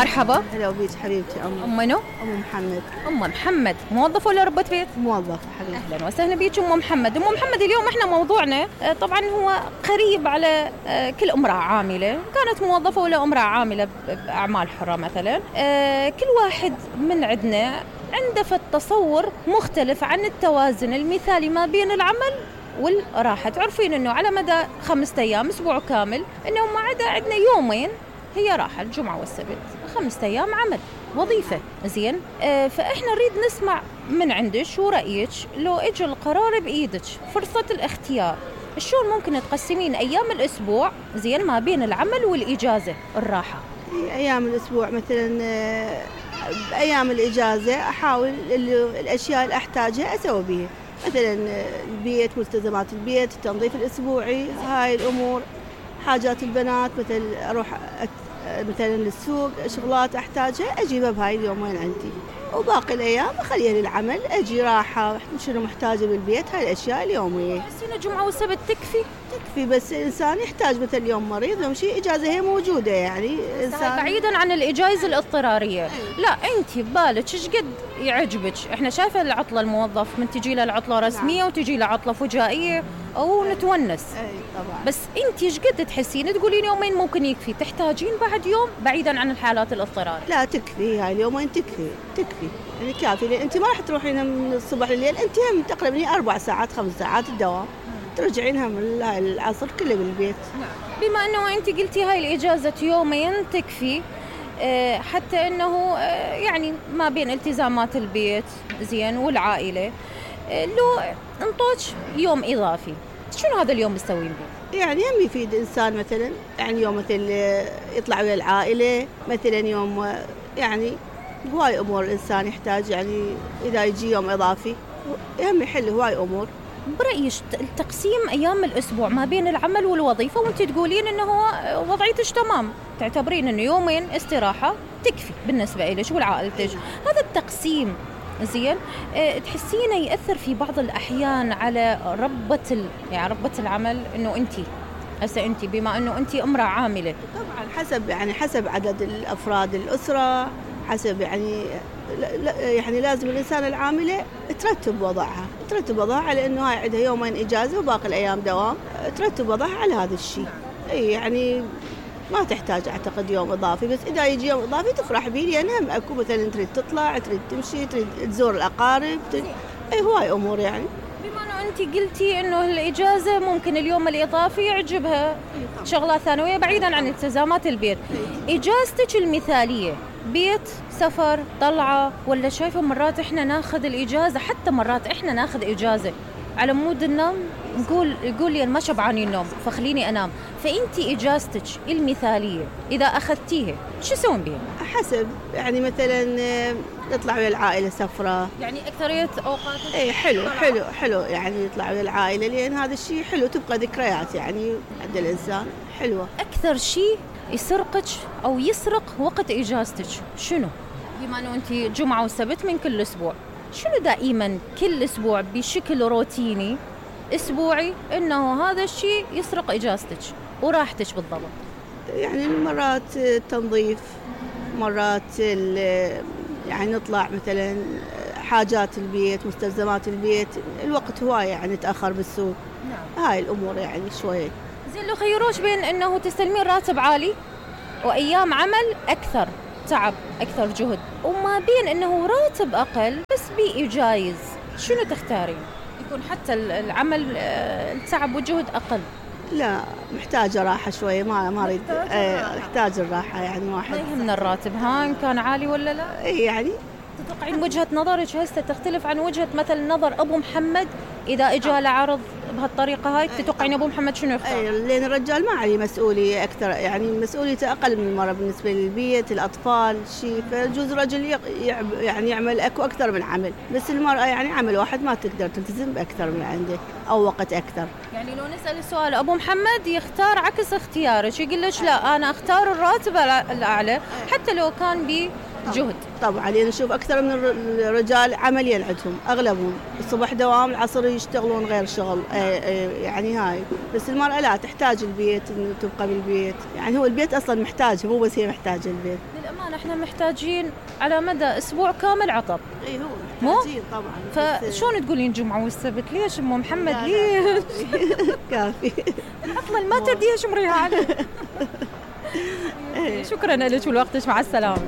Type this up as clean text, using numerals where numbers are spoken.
مرحبا. هلا بيك حبيبتي. أم منو؟ أم محمد. أم محمد موظفة ولا ربة بيت؟ موظفة حبيبتي. أهلا وسهلا بيك أم محمد. أم محمد اليوم إحنا موضوعنا طبعا هو قريب على كل امرأة عاملة، كانت موظفة ولا امرأة عاملة بأعمال حرة مثلا. كل واحد من عندنا عنده تصور مختلف عن التوازن المثالي ما بين العمل والراحة. تعرفين إنه على مدى 5 أيام أسبوع كامل إنه ما عدا عندنا يومين هي راحة، الجمعة والسبت، 5 أيام عمل وظيفة. زين، فإحنا نريد نسمع من عندك شو رأيك لو إجا القرار بإيدك فرصة الاختيار، شلون ممكن تقسمين أيام الأسبوع زين ما بين العمل والإجازة الراحة؟ أيام الأسبوع مثلا بأيام الإجازة أحاول الأشياء اللي أحتاجها أسوي بيها، مثلا البيت، ملتزمات البيت، التنظيف الأسبوعي، هاي الأمور. حاجات البنات مثل أروح مثلا للسوق، شغلات أحتاجها أجيبها بهاي اليومين عندي، وباقي الأيام أخليها للعمل، أجي راحة شنو محتاجة بالبيت، هاي الأشياء اليومية. تحسين الجمعة والسبت تكفي؟ بس الإنسان يحتاج مثل يوم مريض يوم شيء إجازة هي موجودة يعني إنسان بعيداً عن الإجازة الاضطرارية. لا أنت ببالك إيش قد يعجبك؟ إحنا شايفة العطلة الموظف من تجي له العطلة رسمية وتجي له عطلة فجائية أو نتونس. طبعا. بس أنت إيش قد تحسين تقولين يومين ممكن يكفي، تحتاجين بعد يوم بعيداً عن الحالات الاضطرارية؟ لا تكفي، هاي اليومين تكفي يعني كافي، لأن أنت ما راح تروحين من الصبح لليل، أنت هم تقريبا 4 ساعات 5 ساعات الدوام، ترجعينها من هاي العصر كله بالبيت. بما أنه أنت قلتي هاي الإجازة يومين تكفي، حتى أنه يعني ما بين التزامات البيت زين والعائلة، لو انطوش يوم إضافي شنو هذا اليوم بتسوين به؟ يعني هم يفيد إنسان مثلا، يعني يوم مثل يطلع ويا العائلة، مثلا يوم يعني هواي أمور الإنسان يحتاج، يعني إذا يجي يوم إضافي هم يحل هواي أمور. برأيك تقسيم أيام الأسبوع ما بين العمل والوظيفة وانت تقولين إنه هو وضعيتش تمام، تعتبرين إنه يومين استراحة تكفي بالنسبة إليش والعائلتك، هذا التقسيم زين تحسينه يأثر في بعض الأحيان على ربة العمل، إنه أنت بما إنه أنت امرأة عاملة؟ طبعا حسب عدد الأفراد الأسرة، حسب يعني لازم الإنسان العاملة ترتب وضعها لأنه هاي عندها يومين إجازة وباقي الأيام دوام، ترتب وضعها على هذا الشيء. يعني ما تحتاج أعتقد يوم إضافي، بس إذا يجي يوم إضافي تفرح به، لأن هم أكو مثلا تريد تطلع، تريد تمشي، تريد تزور الأقارب، هواي أمور يعني. بما أنه أنت قلتي إنه الإجازة ممكن اليوم الإضافي يعجبها شغلات ثانوية بعيداً عن التزامات البيت، إجازتك المثالية بيت، سفر، طلعة، ولا شايفة مرات إحنا ناخذ الإجازة، حتى مرات إحنا ناخذ إجازة على مود النوم، يقول لي أنا ما شبعاني النوم فخليني أنام، فأنتي إجازتك المثالية إذا أخذتيها شو تسوين بيها؟ حسب يعني مثلا نطلع ويا العائلة سفرة، يعني أكثرية أوقات حلو يعني يطلع ويا العائلة، لأن هذا الشيء حلو، تبقى ذكريات يعني عند الإنسان حلوة. أكثر شيء يسرقك أو يسرق وقت إجازتك شنو؟ بما أنه أنت جمعة وسبت من كل أسبوع، شنو دائما كل أسبوع بشكل روتيني أسبوعي إنه هذا الشيء يسرق إجازتك وراحتك بالضبط؟ يعني مرات التنظيف، مرات يعني نطلع مثلا حاجات البيت، مستلزمات البيت، الوقت هواي يعني تأخر بالسوق. نعم. هاي الأمور يعني شوية. زين، لو خيروش بين إنه تستلمين راتب عالي وأيام عمل أكثر تعب أكثر جهد، وما بين إنه راتب أقل بس بيئي جايز، شنو تختارين؟ يكون حتى العمل التعب والجهد أقل. لا، محتاجة راحة شوية، ما أريد. محتاج الراحة يعني واحد. ما يهمنا الراتب إن كان عالي ولا لا. يعني تتوقعين وجهة نظرك هسه تختلف عن وجهة مثل نظر أبو محمد إذا إجا لعرض بهالطريقة هاي؟ تتوقعين أبو محمد شنو يختار؟ لأن الرجال ما عليه مسؤولية أكثر، يعني مسؤوليته أقل من المرأة بالنسبة للبيت، الأطفال، شيء، فيجوز الرجل يعني يعمل أكثر من عمل، بس المرأة يعني عمل واحد ما تقدر تلتزم بأكثر من عنده أو وقت أكثر. يعني لو نسأل السؤال أبو محمد يختار عكس اختيارك، يقول لك لا أنا أختار الراتب الأعلى حتى لو كان بجهد. طبعا لأن نشوف أكثر من الرجال عمليا عندهم أغلبهم الصبح دوام، العصر يشتغلون غير شغل، يعني هاي. بس المرأة لا، تحتاج البيت، إنه تبقى بالبيت، يعني هو البيت أصلا محتاج، مو بس هي محتاجة البيت. للأمانة الآن احنا محتاجين على مدى أسبوع كامل عطب. اي هو محتاجين طبعا. فشون تقولين جمعة والسبت؟ ليش أم محمد ليش؟ كافي. العطلة ما تديها شمريها عليه. شكرا لك ولوقتك، مع السلامة.